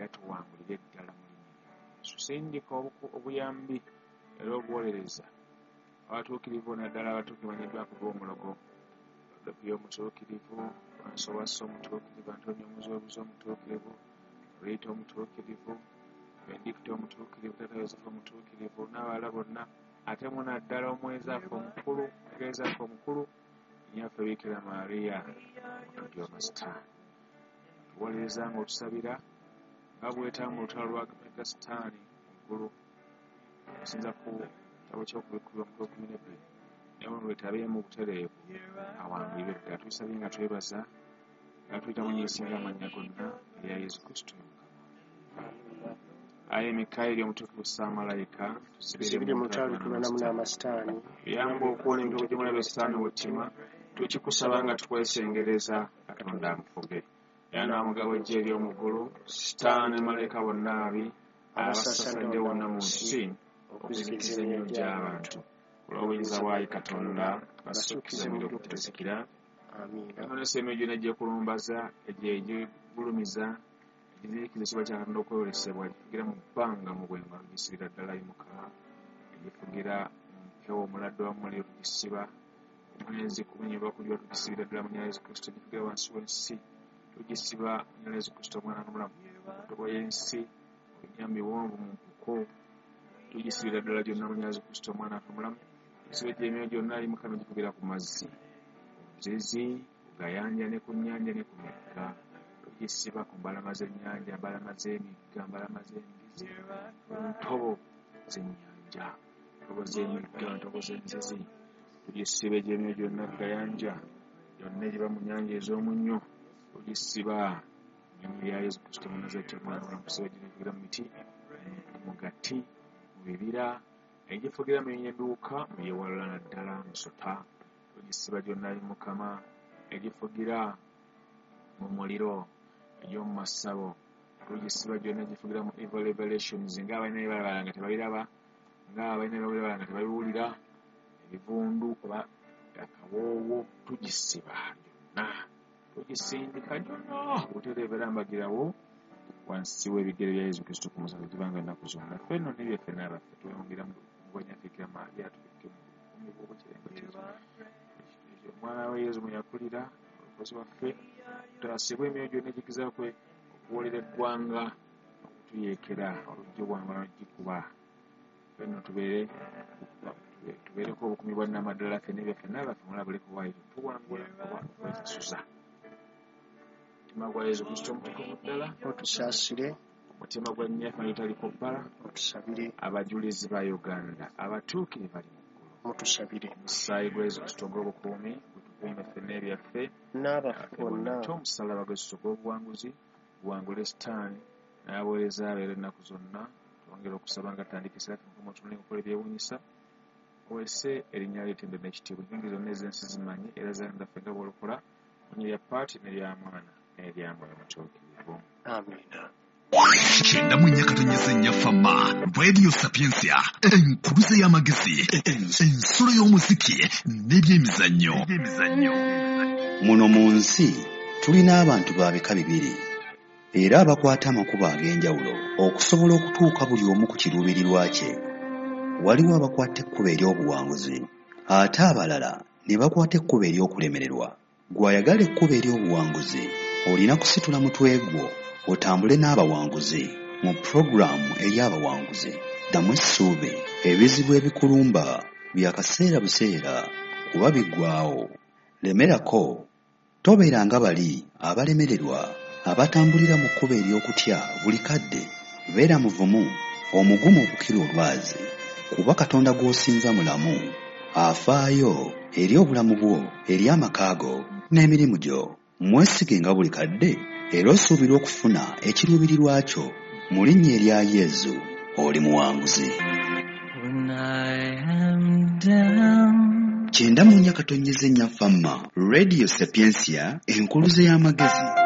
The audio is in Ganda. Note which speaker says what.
Speaker 1: Era tuwangulire ddala mu linnya lya Yesu. Sindika obuyambi era obuwolereza abatuukirivu, naddala abatuukirivu banyiddwako g'omulogo, Dopiyo omutuukirivu, Fransowaso omutuukirivu, Antonio Omuzobuzi omutuukirivu, Rita omutuukirivu, Benedicto omutuukirivu, Tata Yosefu omutuukirivu, n'abalala bonna, ate mu naddala omwezi affe omukulu, omugereza affe omukulu, Nnyaffe Bikira Maria, omutujju w'amasitaani. Tuwolereza ng'otusabira nga bwetaba mu lutalo lwa mega sitaani mu ggulu, okusinza ku kitabo ky'Okubikkulirwa omutwe 12, naye ono lwetabeemu butereevu awangulire ddala. Tubisabye nga twebaza nga tuyita mu nyisinga amannya gonna erya Yesu Kristo Mukama. Ayi Mikayiri omutukuvu Ssaamalayika,
Speaker 2: tusibire mu lutalo lwetulwanamu n'amasitaani.
Speaker 1: Tuyambe okuwona emitego gy'omulabe sitaani wettima, tukikusaba nga tukwesengereza Katonda amufuge. Era n'amugabo eggye ery'omu ggulu, sitaani ne malayika bonna ababi abasasadde wonna mu nsi okuzikiza emyoyo gy'abantu. Olw'obuyinza bwa Katonda basukkize muliro ogutazikira.
Speaker 2: Amiina.
Speaker 1: Onesa emyoyo gyonna egyekulumbaza, egyo egigulumiza, egiziyikiza ekitiibwa kya Katonda okweyolesebwa, egifugira mu bbanga mu bwengo tugisibira ddala ayi Mukama, egifugira mu mpewo omuladde wa muliro tugisiba, omwezi kumenyebwa kujula tugisibira ddala mu nnyina Yesu Kristo, egifugira wansi w'ensi tugisiba mu nnyina Yesu Kristo omwana n'omulamu, ntobo y'ensi mu binnya mu biwonvu mu mpuku tugisibira ddala gyonna mu nnyina Yesu Kristo omwana waffe omulamu, tusibe gye emyoyo gyonna ayi Mukama egifugira ku mazzi, ku nzizi, ku gayanja ne ku nnyanja ne ku migga. Tugisiba ku mbalama z'ennyanja, mbalama z'emigga, mbalama z'enzizi, ku ntobo z'ennyanja, ntobo z'emigga, ntobo z'enzizi. Tugisiba egy'emyoyo gyonna ku gayanja, gyonna egiba mu nnyanja ez'omunnyo, tugisiba mu linnya lya Yesu Kristo Omunazareti omwana omulamu. Tusiba gyonna egifugira mu miti, mu gati, mu bibira, egifugira mu binyonyi ebiwuka, mu byewalula naddala musota. Tugisiba gyonna ayi Mukama, egifugira mu muliro, egy'omu masabo. Tugisiba gyonna egifugira mu evil revelations, ng'abalina bye balaba nga tebabiraba, ng'abalina bye bawulira nga tebabiwulira, ebivundu oba akawoowo, tugisiba gyonna, tugisindika gyonna butereevu era mbagirawo wansi w'ebigere bya Yesu Kristo ku musaalaba gibanga ennaku zonna. Ffe nno n'ebyaffe n'abaffe tweyongera mu bwanyaffe Bikira Maria, tubikke mu bukuumi bw'obukirembe omwana we Yesu mwe yakulira omukozi waffe, tutaasibwe emyoyo gyonna egigezaako okuwoolera eggwanga okutuyeekera olujja obwangula n'ogikuba. Ffe nno tubeereko obukuumi bwa nnamaddala ffe n'ebyaffe n'abaffe mulabuleko waayo tuwangula oba okwesasuza. Omutima gwa Yesu Kristo omutukuvu ddala
Speaker 2: otusaasire,
Speaker 1: omutima gwa nnyaffe agitaliko bbala
Speaker 2: otusabire,
Speaker 1: abajulizi ba Uganda abatuukirivu bali mu ggulu,
Speaker 2: mutusabire,
Speaker 1: omusaayi gwa Yesu Kristo ogw'obukuumi gutukuume ffe n'ebyaffe
Speaker 2: n'abaffe bonna.
Speaker 1: Ate omusalaba gwa Yesu ogw'obuwanguzi guwangule sitaani n'abaweereza be era ennaku zonna. Twongere okusaba nga tutandika essala Mukama otunule okukola ebyewuunyisa, oweese erinnya lyo ettendo n'ekitiibwa. Enkingi zonna ez'ensi zimanye era zaffe nga bw'olokola mu linnya lya Paati n'erya Mwana n'erya Mwoyo Mutuukirivu.
Speaker 2: Amiina.
Speaker 3: 94.4 Fama Radio Sapientia, enkuluze y'amagezi, ensulo y'omuziki n'ebyemizannyo.
Speaker 4: Muno mu nsi tulina abantu ba bika bibiri era abakwata amakubo ag'enjawulo okusobola okutuuka buli omu ku kiruubirirwa kye. Waliwo abakwata ekkubo ery'obuwanguzi ate abalala ne bakwata ekkubo ery'okulemererwa. Gw'ayagala ekkubo ery'obuwanguzi olina kusitula mutwe gwo otambule n'abawanguzi mu pulogulaamu ey'abawanguzi. Ddamu essuubi, ebizibu ebikulumba bya kaseera buseera kuba biggwaawo. Lemerako, tobeera nga bali abalemererwa abatambulira mu kkubo ery'okutya buli kadde. Beera muvumu, omugumu okukira olwazi, kuba Katonda gw'osinza mulamu, afaayo eri obulamu bwo, eri amaka go n'emirimu gyo. Mwesige nga buli kadde era osuubira okufuna ekiruubirirwa kyo mu linnya erya Yesu. Oli muwanguzi.
Speaker 5: When I am down.
Speaker 4: 94.4 Fama Radio Sapientia, enkuluze y'amagezi.